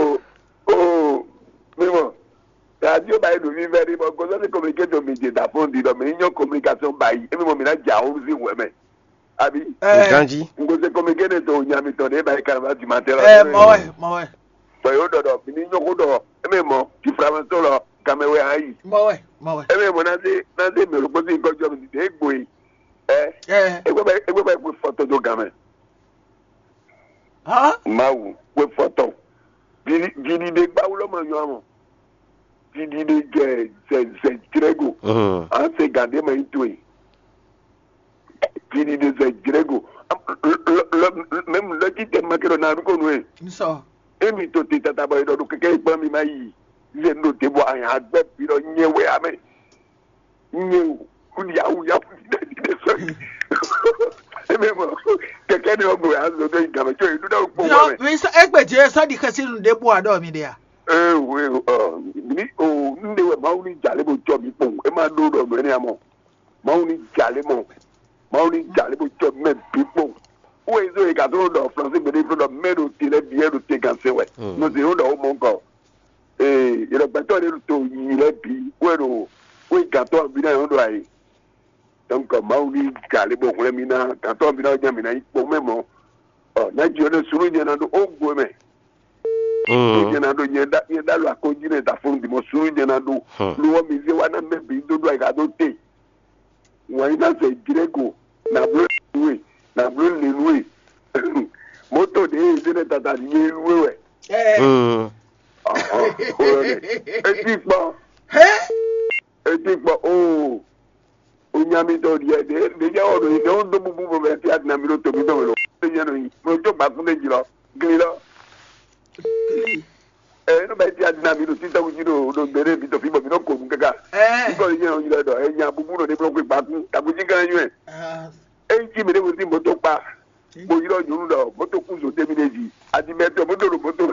O mímọ radio báyìí ló fi fẹ́ rí mọ gọ́sọ́ sí communication mi dè dà fún di lọ mi yíyan communication báyìí èmi mọ mi náà jà ó sí wẹ̀ mẹ́ àbí. Ganji. N kò ṣe communication tó nya mi tọ̀ ní báyìí kan bá ti máa tẹ́lá. Ẹ mọ wẹ mọ wẹ. Tọ̀ yóò dọ̀dọ̀ mi ní yíyan kó dọ̀ èmi mọ ti fura mọ́ tó lọ kàmẹ́wé ayì. Mọ wẹ mọ wẹ. Èmi mọ náà ṣe náà ṣe mèrò kó sí nǹkan jọ mi dìde égbò yìí. Ẹ Ẹ. Egbé bá egbé bá egbé fọ́tò tó gàn mẹ́. Hã? Mawu wé fɔtɔn. Didi de gbawu lɔ ma nyɔ amɔ. Didi de jɛ zɛ zɛ jrɛgo. An se gan de ma yi to yi. Didi de zɛ jrɛgo. Mɛmu lɔji tɛ ma kɛ dɔ na ko nu ye. N sɔ. Emi to te tata bɔ edɔ do kɛkɛ ekpla mi ma yi. Zɛ no te bɔ anya agbɛ bi dɔ nyɛ wɛ amɛ. Nyɛ o, yawu yawu dídá dídá sɔ́yì. Ebe mɔ kɛkɛ ni ɔgbɛ azɔ dɔ igame tsɔ idu da kpɔ wa mɛ. Egbe je sɔ di xɛsi nu ɖe bu aɖɔ mi ɖe ya. Ee o ee o mi o n de wɛ mawu ni jale bo tsɔ mi kpɔn e ma ɖo ɖɔ mɛ ni amɔ mawu ni jale mɔ mawu ni jale bo tsɔ mɛ bi kpɔn. Wo ezo yi ka tó ɖɔ flansi gbe ɖe fún ɖɔ mɛ ɖo te lɛ bi ɛ ɖo te gan se wɛ. Nɔ se yóò ɖɔ wo mɔ nkɔ. Ee, yɛlɛ gbɛtɔ́ ɖé to yi lɛ́ɛ bǐ wɛ ɖo wé gǎntɔ́ ɔ́ bǐ ná nyɔ̌nu ɖo ayǐ. Donc Mawu ní gǎ lé bɔ hwlɛ́n mì ná gǎntɔ́ ɔ́ bǐ ná nya mǐ ná nyí kpɔ́n mɛ mɔ̌. Ɔ, ná ji ɔ́ nɛ́ súnnu nyɛ ná ɖó ó gbo mɛ. Súnnu nyɛ ná ɖó nyɛ ɖá nyɛ ɖá lɔ akɔ́njí nɛ da fɔ́n dimɔ súnnu nyɛ ná ɖó. Lo ɔ́ mi zé wá ná mɛ bǐ dó ɖó ayǐ ká dó te. Wǎn yí ná zɛ jlɛ́ go, nǎ bló nǔ e, nǎ bló lě nú e. Mɔ̌to ɖě e zé nɛ́ tata nyɛ nú we wɛ. Etí kpɔ́, etí kpɔ́ oo. Onyá mi tɔ ɖiɛ ɖě ɖě jẹ́ ɔ̀nà yìí ɖé ó dó búbú bɔ bɛ tí a dina mi ɖó tòmí tɔn wɛ lɔ. Ó nyɛ nɔ yìí, mo tó gbà fún méjì lɔ, gli lɔ. Ɛ nɔ bɛ tí a dina mi ɖo títɔ wújí ɖo ɖo gbére mi tɔ fi bɔ mi nɔ ko nu kaka. Nígbà yìí yẹn yìí lɔ ɛ nya búbú nɔ ní blɔ́ gbà kú, tàbújí kan yún ɛ. Eyi tí mi ɖé mo ti mɔtò kpa mo yɔrɔ nyɔnu ɖɔ mɔtò kú zo tɛmi ɖe dzi adimɛtɔ mɔtò ɖo mɔtò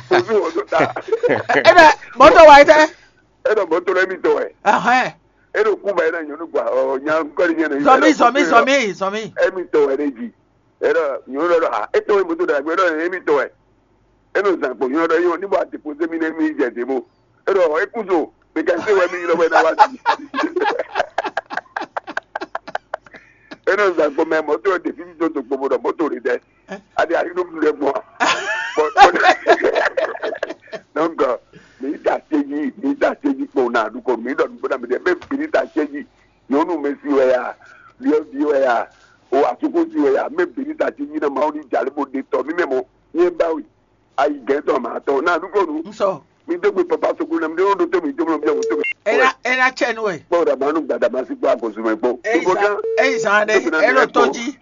kposú wɔ tó ta. Ebe mɔtò wa yi tɛ. Eɖɔ mɔtò lɛ mi tɔ wɛ. Ɛhɛn. Eɖɔ kú ba yi na nyɔnu gba ɔ nya nkɔli nyɛ nɔ yi. Zɔmi zɔmi zɔmi zɔmi. Emi tɔ wɛ ɖe dzi. Eɖɔ nyɔnu lɛ ɖɔ ha etɔ wɛ mɔtò ɖe agbe eɖɔ emi tɔ wɛ. Enɔ zan kpo nyɔnu ɖɔ yɔ ní bɔ a dépose mi nɛ mi jɛ dé bo. Eɖɔ ekuzo mi ka se wɛ mi yi lɔ bɔ ena wa si. Enɔ zan kpo mɛ mɔtò ɖe fi mi tó tó kpo bo ɖɔ mɔtò ɖe dɛ. Adi ayi ɖo ɖe gbɔn. Donc mi da teji mi da teji kpo na ɖu ko mi ɖɔ nugbo na mi ɖe mɛ bi ni da teji nyɔnu mɛ si wɛ ya, viɔ vi wɛ ya, o asuku si wɛ ya, mɛ bi ni da teji na ma wo ni jali bo de tɔ mi mɛ mɔ. Nyɛ ba wi. Ayi gɛn tɔ ma tɔ na ɖu ko nu. Nsɔ. Mi dó gbe papa sokun na mi ɖe wo ɖo tó mi tó mi ɖe wo tó mi. Ena ena tsɛ nu wɛ. Kpɔ ɖa ma nu gbada ma si kpɔ agosu mɛ kpɔ. Eyi zan eyi zan ɖe elo tó dzi.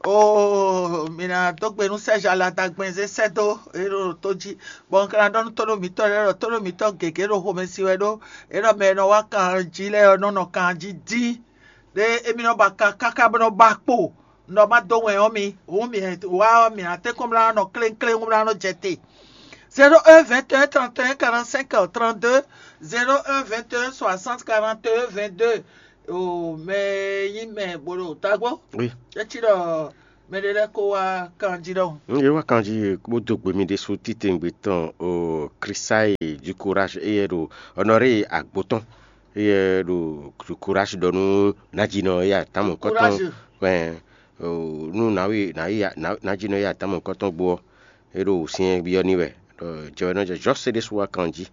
Oo mina dó gbe nu sɛza la ta gbɛn zé sɛ dó elo tó dzi. Bɔn kana ɖɔ nu tó ɖo mitɔ ɖe ɖɔ tó ɖo mitɔ gěgé ɖo xomɛ si wɛ ɖó. Eɖɔ mɛ nɔ wá kan jí lɛ nɔ nɔ kan jí dín. Ɖe emi nɔ ba kan káká bɔ nɔ ba kpo. Nɔ ma dó wɛn ɔ́ mi. Hǔn mi wá ɔ́ mi ná tɛ́nkpɔ́n mlá nɔ kléŋkléŋ mlá nɔ jɛ te. Zéro un vingt et un trente et un quarante-cinq trente-deux, zéro un vingt et un soixante quarante et un vingt-deux. O mɛ nyí mɛ bolo tagbó. Oui. Etsi ɖɔ mɛ ɖe lɛ kó wá kanjí ɖɔhun. N yɛ wá kanjí bó dó gbe mi ɖésú títɛ̀ngbé tɔn o Chrisaï du courage eye ɖo honoré agbo tɔn eye ɖo du courage ɖɔ nú Nadjinɔ eye atamɔ kɔtɔn. Courage. Wɛ o nú nawi nawi Nadjinɔ eye atamɔ kɔtɔn gbó ɔ́. E ɖo wǔsyɛ́n byɔ́ n'i wɛ ɖɔ jɛ wɛ nɔ jɛ Jɔ́si ɖésú wá kan jí.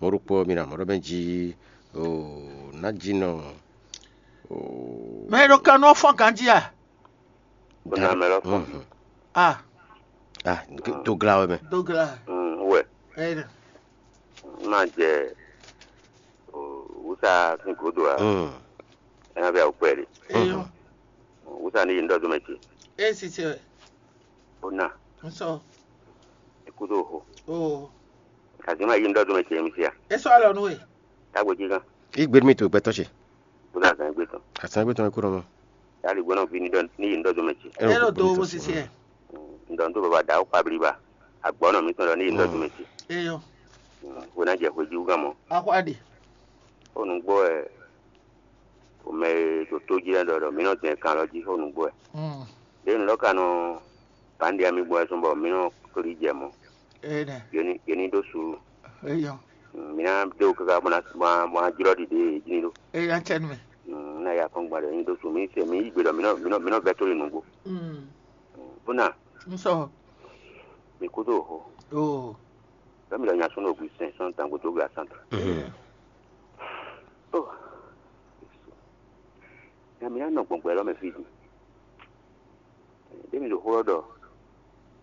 Mɔ̌ ɖokpó ɔ́, mi ɖo amɔ̌ ɖɔ mɛ jí oo ná jí nɔ oo. Mɛ e ɖo kan nú ɔ́ fɔ́n ganjí a? Bó ná mɛ lɔ fɔ́n. Mhm. A Ah, dogla wɛ mɛ. Dogla. Mm, wɛ. Ɛyɛ. má jɛ wúsa sín gǒdo ǎ. Ɛ ná vɛ awu kpɛɖé. Eyɔn. Wúsa ní yi ŋɖɔdó mɛ ce. Esi ce. Ó nà. Nsɔ. Ikúdó ho. O. Kàzí má yi ŋɖɔdó mɛ ce mi sia. Esɔ alɔ nu e. Tágbó jí gán. Igbe mi to gbɛtɔ ce. Kúdó azán gbé tán. Azán gbé tán kúrò mɔ. Yali gbɔnɔ vi ní dɔ ní yi ŋɖɔdó mɛ ce. Ɛ lɔ do wo sisi ɛ. Ŋɖɔ tó baba da ó kpabli ba. Agbɔnɔ mi tɔn dɔ ní yi ŋɖɔdó mɛ ce. Eyɔn. Wo ná jɛ hwejí wú gán mɔ. Axɔ aɖe. Ó nu gbɔ ɛ. Mɛ e ɖo tó jí lɛ́ɛ ɖɔ ɖɔ mǐ nɔ dɛn kan lɔ jí xó nǔgbó wɛ. Ɖěe nǔ lɔ ka nɔ bǎnɖia mì gbɔn wɛ zɔn bɔ mǐ nɔ klí jɛ mɔ̌. Yě ní ɖó suúlu. Mǐ ná dó káká bó ná jlɔ́ ɖiɖe e jí ní ɖó. Eyɔn cɛ́nú mɛ. Ná ya kɔn gba ɖɔ yě ní ɖó suúlu. Mǐ se mǐ yí gbe ɖɔ mǐ nɔ mǐ nɔ mǐ nɔ vɛ́ tó lin nǔgbó. Bó ná. Nsɔ. Mǐ kúdó xo. Oo. Lɔ mǐ lɔ nya sɔ́ nɔ gbi sɛn sɔ́ dango dó gbe asán tɔn. Ó, nya mi ná nɔ gbɔngbɔ élɔ́ mɛ fí din. Ɖé mi ɖo xó ɔ́ ɖɔ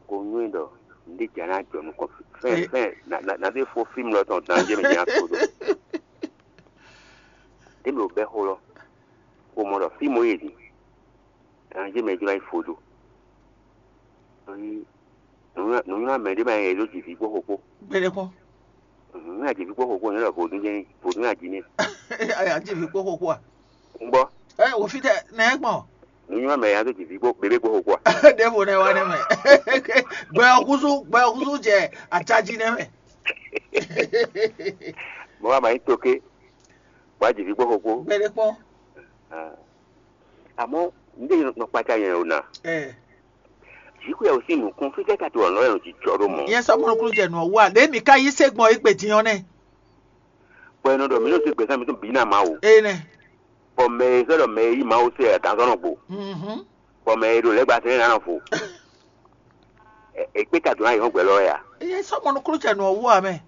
ko nywɛ́ ɖɔ nǔɖé ja ná jɔ nukɔn fɛn fɛn na na na ɖé fó fí mlɔ tɔn dan jɛ mi nya ko ɖo. Ɖé mi ɖo bɛ́ xó lɔ ko mɔ ɖɔ fí mo yi din dan jɛ mɛ jlɔ́ yi fo ɖo. Nǔnywɛ́ mɛ ɖé mɛ e ɖó jivǐ kpó xo kpó. Gbɛɖe kpɔ́n. Nǔnywɛ́ jivǐ kpó xo kpó nyɛ ɖɔ vodún jɛ́n vodún ají nɛ́. Aya jivǐ kpó xo kpó a? Un gbɔ. Ɛ wò fítɛ nɛ gbɔn. Nǔnywɛ́ mɛ ya ɖó jivǐ kpó bébé kpó xo kpó a? Ɖěvo nɛ wá nɛ mɛ. Gbɛ ɔkúsú gbɛ ɔkúsú jɛ acají nɛ mɛ. Mo wá ma nyí toké. Bó a jivǐ kpó xo kpó. Gbɛɖe kpɔ́n. Amɔ̌, un ɖe nɔ kpácá nyɛ o ná. Ɛ Jǐxwé ɔ́ sín nǔkún fítɛ́ ka to ɔ̌ nɔ jijɔ ɖó mɔ̌? Nyɛ sɔ́ mɔnukúnújɛ nɔ wá ɖě mǐ ka yí se gbɔn égbé din ɔ́ nɛ́. Bɔ è nɔ ɖɔ mǐ nɔ se gbɛ̌sán mitɔn bǐ ná Mawu. Énɛ́. Bɔ mɛ e sɔ́ ɖɔ mɛ e yí Mawu se ɛ gǎnzɔ́ nɔ gbo. Mhm. Bɔ mɛ e ɖo lɛ́ gba sɛn ná nɔ fo. È kpé ta dǒ ná yě hɔn gbɛ lɔ wɛ a? Nyɛ sɔ́ mɔnukúnújɛ nɔ wá mɛ.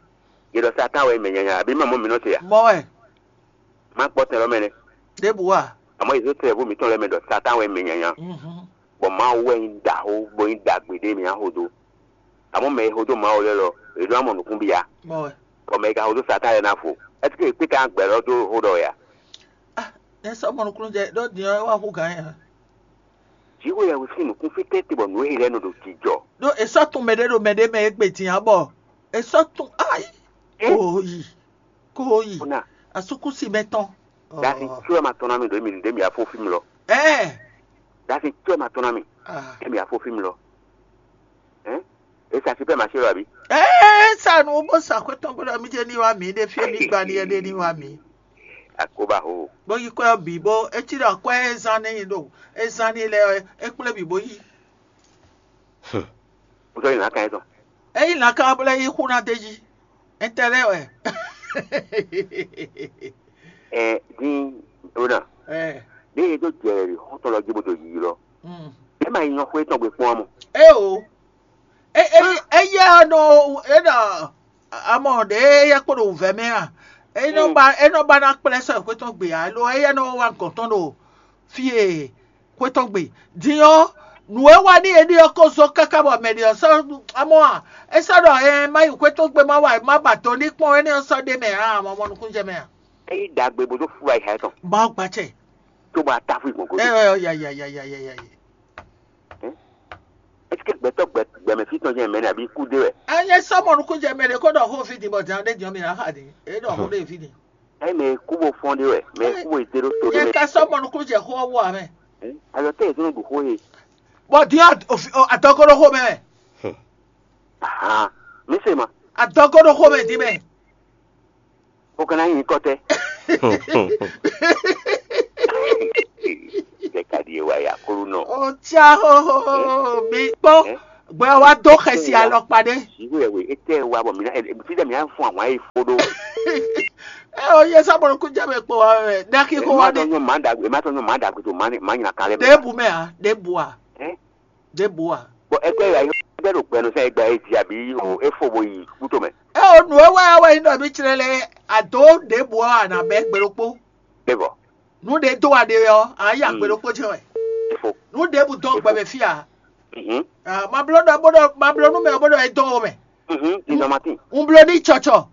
Yě ɖɔ Satan wɛ mɛ nyanya abǐ mɛ mɔ mǐ nɔ se a? Mɔ wɛ. Má kpɔ́ tɛn lɔ mɛ nɛ́. Ɖěbǔ a? Àmọ́ yě zé tɛ́ vo mǐtɔn lɛ́ɛ mɛ ɖɔ Satan wɛ mɛ nyanya. Mhm. Bɔ Mawu wɛ nyí ɖaxó bó nyí ɖagbe ɖé mǐ axo dó. Àmọ́ mɛ e xo dó Mawu lɛ́ɛ lɔ, è ɖó amɔ nǔkún bia. Mɔ wɛ. Bɔ mɛ e ka xo dó Satan lɛ́ɛ ná fo. Ɛseke è kpé ka gbɛ lɔ dó xó ɖɔ wɛ a? Ah, nyɛ sɔ́ mɔnukúnújɛ ɖó din ɔ́ é wá hú gǎn nyɛ. Jǐxwé yɛhwe sín nǔkún fí tɛ́ntin bɔ nǔ e lɛ́ɛ nɔ ɖo jijɔ. Ɖó è sɔ́ tun mɛɖé ɖo mɛɖé mɛ égbé din ǎ bɔ è sɔ́ tun ayi. Kooyi, kooyi, asúkúsi mɛ tɔn. Dasi tso ɛ ma tɔn ná mi ɖo mi ɖe mi afo fí mi lɔ. Ɛɛ. Dasi tso ɛ ma tɔn ná mi. Ah. Ɖe mi afo fí mi lɔ. Hein? E sa super marché lɔ abi. Ɛɛ sa nu bó sa xwé tɔn bó ɖɔ mi jɛ ní wá mi ɖe fie mi gba ní ɛɖe ní wá mi. Akoba ho. Bó yi kwɛ bǐ bó etí ɖɔ kwɛ e zan ní ɖo e zan ní lɛ é kplé bǐ bó yi. Wotɔ yi lǎkan yɛtɔn. Eyi lǎkan bó lɛ́ yí xú ná d'é jí. Intérêt wɛ. Ɛ dín ona. Ɛ. Ní e dó jɛ xɔtɔn lɔ jí bó dó yiyi lɔ. Mm. Ɛ ma yi nyɔ xwé tɔn gbe kpɔn amɔ. E o. E e eyɛ nɔ e nɔ amɔ ɖe eyɛ kpo ɖo wǔvɛ́ mɛ a? E nɔ ba e nɔ ba ná kplɛ́ sɔ xwé tɔn gbe alo eyɛ nɔ wá gɔn tɔn ɖo fie xwé tɔn gbe. Din ɔ́, nǔ e wa n'i é ɖe ɔ́ ko zɔ́n káká bɔ mɛ ɖě ɔ́ sɔ́ amɔ́ a? É sɔ́ ɖɔ ɛ má yi xwé tɔn gbe má wa má ba do ní kpɔ́n énɛ́ ɔ́ sɔ́ ɖ'é mɛ ǎ, amɔ̌ mɔ nukúnnú jɛ mɛ a? É yí ɖagbe bó dó fú ayi tɔn. Mawu gbacɛ. Tó bá tá fún ìgbọ̀n Ɛ gòdè. Ɛ yayayayayaya. Est-ce que gbɛtɔ́ gbɛ gbɛmɛ fí tɔn jẹ́ mɛ ní àbí kú dé wɛ? Ɛ nyɛ sɔ́ mɔ nukúnnú jɛ mɛ ɖě kó ɖɔ xó fí din bɔ din ɔ́ ɖé din ɔ́ mi ná xa din. É ɖɔ xó ɖé fí din. Ɛ mɛ kú bó fɔn ɖé wɛ, mɛ kú bó dé ɖó to ɖé Nyɛ mɛ. Ka sɔ́ mɔ nukúnnú jɛ xó ɔ́ wú ǎ mɛ. Ayɔ tɛ yɛ tó nɔ ɖu xó ye. Bɔ din ɔ́ adɔgɔ́ ɖó xó mɛ. Ahan, mi se ma. Adɔgɔ́ ɖó xó mɛ din mɛ. O kana nyi kɔtɛ. Ɖeka ɖi ewa ya kolo nɔ. O tsa hoho mi kpɔn gbɛ wa do xɛsi alɔkpa ɖe. Iwe ewe etɛ wa bɔ mina fidɛ mina fún àwọn ayi fo ɖo. Ɛ o yɛ sábọ̀nù kú jẹ́ mi kpɔ wa mɛ daki kó wa Ema tɔ dé. Nyɔ ma dagbe, ema tɔ nyɔ ma dagbe to ma ma nyina kan lɛ. Ɖe bu mɛ a ɖe bu a Ɛ? Ɖe bu a. Bɔ ɛgbɛ ya yɔ bɛ ɖo gbɛnu sɛ egba e dzi abi o efo bo yi kuto mɛ. Ɛ o nǔ e wɛ wɛ nyí ɖɔ mí tsrɛ lɛ ado ɖe bu a nà bɛ gbe ɖokpó. Evɔ. Nǔ ɖe do a ɖe ɔ a yí agbe ɖokpó jɛ wɛ. Efo. Nǔ ɖe bu dɔn gbɛ mɛ fí a. Mhm. Ah, ma bló ɖɔ bó ɖɔ ma bló nú mɛ bó ɖɔ é dɔn o mɛ. Mhm. Nizɔmatin. Un bló ní tsɔtsɔ.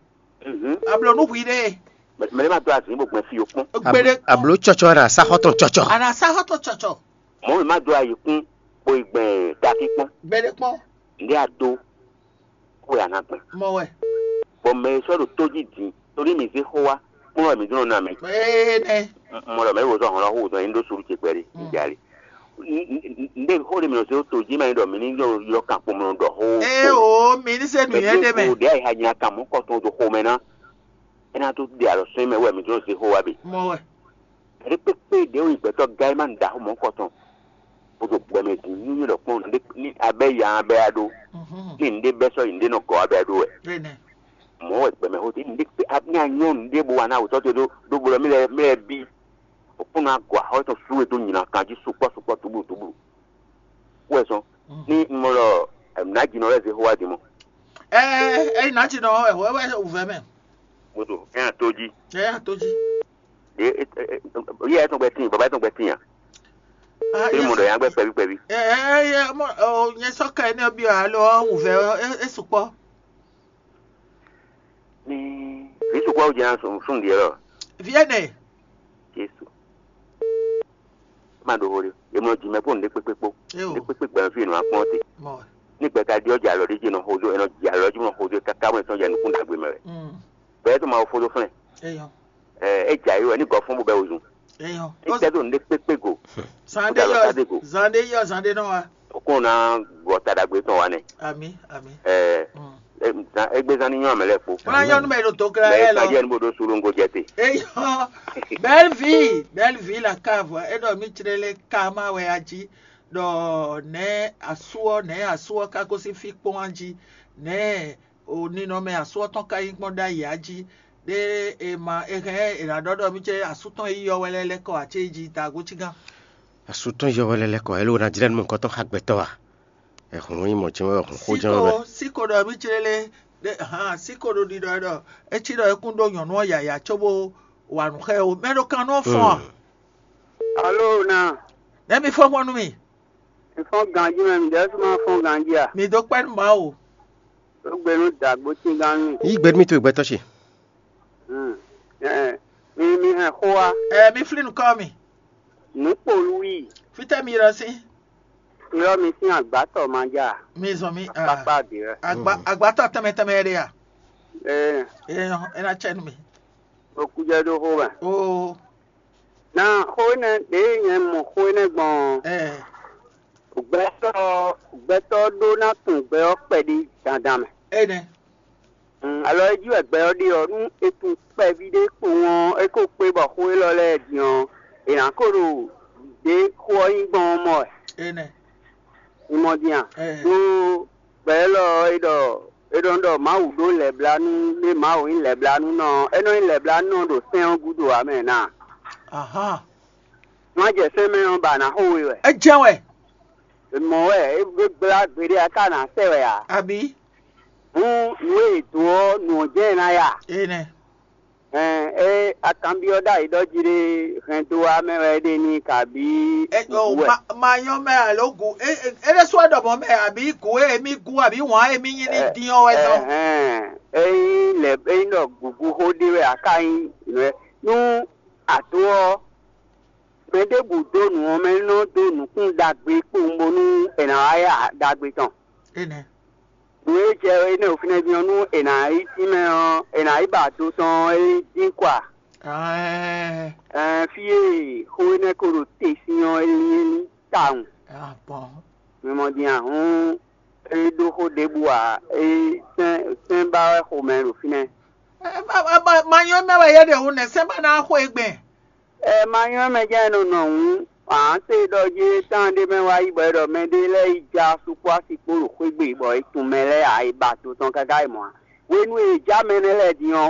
Ablonú hwi ɖe. Mɛ ɖé ma dó azǐn bó gbɛn fí yokpɔ́n. Gbéɖé kpɔ́n. Abló tsɔtsɔ ɖo asáxɔ́ tɔn tsɔtsɔ. Ana sáxɔ́ tɔn tsɔtsɔ. Mɔ̌ mɛ má dó ayi kún bó yi gbɛn takí kpɔ́n. Gbéɖé kpɔ́n. Ǹdí a dó kó wɛ a nǎ gbɛn. Mɔ wɛ. Bɔ mɛ e sɔ́ ɖo tó jí din, torí mǐ zé xó wá, kplɔ́n wɛ mǐ zɔ́n ná mɛ. Ee nɛ. Mɔ ɖɔ mɛ e wo zɔ́n hɔn lɔ xó zɔn é ní ɖó suɖu ce kpɛɖé. Ǹjali. Ǹdé xó ɖé mǐ nɔ zé tó jí mɛ ɖɔ mǐ ní ylɔ́ kan kpomlɔ ɖɔ xó. Ee o, mi ní se nǔnywɛ́ ɖé mɛ. Ɖě ayiha nyi akan mɔ̌ kɔtɔn ɖo xomɛ ná. É ná dó ɖe alɔ sɔ́ mɛ wɛ mǐ zɔ́n zé xó wá bǐ. Mɔ wɛ. Ɖě kpékpé ɖě wo nyi gbɛtɔ́ gán é má nǔ ɖaxó mɔ̌ kɔtɔn. Bó ɖo gbɛmɛ din ní yé ɖɔ kpɔ́n nǔɖé ní abɛ ya abɛ ya ɖó. Ní nǔɖé bɛ́ sɔ́ yi nǔɖé nɔ gɔ́ abɛ ya ɖó wɛ. Mɔ̌ wɛ gbɛmɛ xó te nǔɖé kpé ní anyɔ́ nǔɖé bó wa ná wǔtɔ́ te ɖó ɖó bó ɖɔ mí lɛ́ mí lɛ́ bí. Òkúnnú agɔ axɔ́ tɔn sú e dó nyina kan jí sukpɔ́ sukpɔ́ tublu tublu. Wɛ sɔn ní un mɔ ɖɔ nǎjínɔ lɛ́ zé xó wá din mɔ. Ɛ ɛ nǎjínɔ wɛ wɛ wɛ wǔvɛ́ mɛ. Moto ɛ hàn tó jí. Ɛ hàn tó jí. Yíyá ɛ tɔn gbɛ tíin, bàbá ɛ tɔn gbɛ tíin à. Ɛ mɔ ɖɔ yàn gbɛ kpɛví kpɛví. Ɛ ɛ ɛ mɔ ɔ nyɛ sɔ́ ká ɛnɛ byɔ́ alo ɔ́ wǔvɛ́ ɔ́ é sukpɔ́. Ní vǐ sukpɔ́ wú jɛ sún ɖiɛ lɔ. Vǐ ɛnɛ. Jesu. Ma ɖo xo ɖe. Yě mlɔ jǐ mɛ kpó nǔɖé kpékpé kpó. Nǔɖé kpékpé gbɛmɛ fí yě nɔ wá kplɔ́n te. Ní gbɛ ka ɖi ɔ́ jɛ alɔ ɖé jí nɔ xozó, è nɔ jɛ alɔ jí nɔ xozó káká bɔ è sɔ́ jɛ nukún ɖagbe mɛ wɛ. Bɛɛ tó ma wo fó dó flɛ́n. Ɛ é jɛ ayé wɛ ní gɔ́ fún bó bɛ wozun. Ní tɛ́ dó nǔɖé kpékpé go. Zan ɖé yɔ zan ɖé yɔ zan ɖé nɔ wa. Òkun ná gbɔ ta ɖagbe tɔn wa nɛ. Ami ami. Ɛ égbé zan ní nyɔ́ amɛ lɛ́ɛ kpó. Wọ́n á yọ nú mɛ ɖo tó kíra Bɛɛ yɛ lɔ. Kan jẹ́ ní bó ɖó sulú ŋgó jɛ te. Eyɔ belle vie belle vie la cave e ɖɔ mi tsrele kama wɛ a jí ɖɔ nɛ asu ɔ nɛ asu ɔ ka gosín fí kpɔ́n a jí nɛ o ninɔmɛ asu ɔ tɔn ka nyí kpɔ́n ɖ'ayǐ a jí ɖé e ma e hɛn e ná ɖɔ ɖɔ mi tsɛ asu tɔn yi yɔ wɛ lɛ lɛ kɔ a cé jí da gó cí gán. Asu tɔn yɔ wɛ lɛ lɛ kɔ elo ná jlɛ nú mɔkɔ tɔn xa gbɛtɔ a? Ɛhun nyí mɔ jɛn wɛ hun xó jɛn wɛ. Siko siko ɖɔ mi tsrele ɖe hàn siko ɖo ɖiɖɔ ɖɔ etsi ɖɔ ekún ɖó nyɔ̌nu ɔ́ yǎyá cóbó wa nǔ xɛ o mɛ ɖo kan nú ɔ́ fɔ́n a? Alo na. Nɛ́ mi fɔ́n gbɔn nú mi. Mi fɔ́n ganjí mɛ mi ɖɛ́ sú ma fɔ́n ganjí a? Mi dó kpɛ́ nú Mawu. Tó gbe nú dǎgbó cígán nú mi. Yí gbe nú mi to gbɛtɔ́ ce. Hmm. Ɛ mi mi hɛn xó wá. Ɛ mi flí nukɔn mi. Nǔkpolú yi. Fítɛ́ mi ɖɔ sí. Ylɔ́ mi sín agbátɔ ma ja. Mi zɔn mi. Akpákpá dě wɛ. Agba agbátɔ tɛmɛ tɛmɛ ɖe ya. Ee. Ee ɛ na cɛ nú mi. Okújɛ ɖó xó mɛ. Oo. Na xó énɛ́ ɖě nyɛ mɔ xó énɛ́ gbɔn ɔ́, Ɛ gbɛtɔ́ gbɛtɔ́ ɖó ná tunwun gbɛ ɔ́ kpɛɖé dandan mɛ. Enɛ. Mm, alɔ é jí wɛ gbɛ ɔ́ ɖe ɔ́, nú è tunwun kpɛví ɖé kpowun ɔ́, é ko kpé bɔ xó élɔ́ lɛ́ɛ din ɔ́, è nǎ ko ɖo ɖě xó ɔ́ nyí gbɔn ɔ́ mɔ wɛ. Enɛ. Mi mɔ din a? Ɛ Ɖó gbɛ élɔ́ ɔ́, é ɖɔ é ɖɔ ɖɔ Mawu ɖó lɛ̌blánú ɖé Mawu nyí lɛ̌blánúnɔ ɔ́, é nɔ nyí lɛ̌blánúnɔ ɖo sɛ́n ɔ́ gúdo ǎ mɛ na. Ahán. Nú a jɛ sɛ́n mɛ ɔ́ ba nǎ xo we wɛ. É jɛ́n wɛ. Mɔ̌ wɛ é gbé gblá gbeɖé a ka nǎ sɛ wɛ ǎ. Abǐ. Hǔn nǔ e è dǒ ɔ́, nǔ ɔ́ jɛ́n ɛ ná ya. Enɛ. Ɛn é akanbyɔ́ ɖ'ayǐ ɖɔ jí ɖé hɛn dó wá mɛ wɛ é ɖe n'i kabǐ Ɛ, o, gǔgú wɛ. Ma, ma nyɔ́ mɛ alo gu é é é ɖésú wɛ ɖɔ mɔ̌ mɛ abǐ gu e émí gu abǐ wǎn e émí nyí ní Ɛ, dín ɔ́ wɛ zɔ́n. Ɛhɛn, ényí lɛ ényí ɖɔ gǔgú xó ɖé wɛ a ka nyí nǔ wɛ nú àdó ɔ́, mɛ ɖěbǔ dó nǔ ɔ́ mɛ nɔ dó nǔkún ɖagbe kpowun bónú è nǎ wá ya ɖagbe tɔn. Enɛ. Nǔ e jɛ énɛ́ ɖo fínɛ́ dín ɔ́, nú è nǎ yi tínmɛ ɔ́, è nǎ yi ba do tɔn ɔ́, é dín kɔ a? Ɛɛ, Ɛɛ, fí e xó énɛ́ ko ɖo te sín ɔ́, é lín é ní tawun. Ah, bon. Mi mɔ din a? Hǔn é ɖó xó ɖěbǔ ǎ. É sɛ́n sɛ́n ba wɛ xomɛ ɖo fínɛ́. Ɛ, ma, ma, ma, ma nyɔ́ mɛ wɛ yɛ ɖe hu nɛ sɛ́n ba ná xo e gbɛn. Ɛ ma nyɔ́ mɛ jɛ́n nɔ nɔ hǔn ǎ se ɖɔ jí tán ɖé mɛ wá yi bɔ é ɖɔ mɛɖé lɛ́ɛ yi ja sukpɔ́ asi kpó ɖo xwé gbe bɔ è tunwun mɛ lɛ́ɛ ǎ, è ba to tɔn káká yi mɔ̌ ǎ. Hwenu e è já mɛ énɛ́ lɛ́ɛ din ɔ́,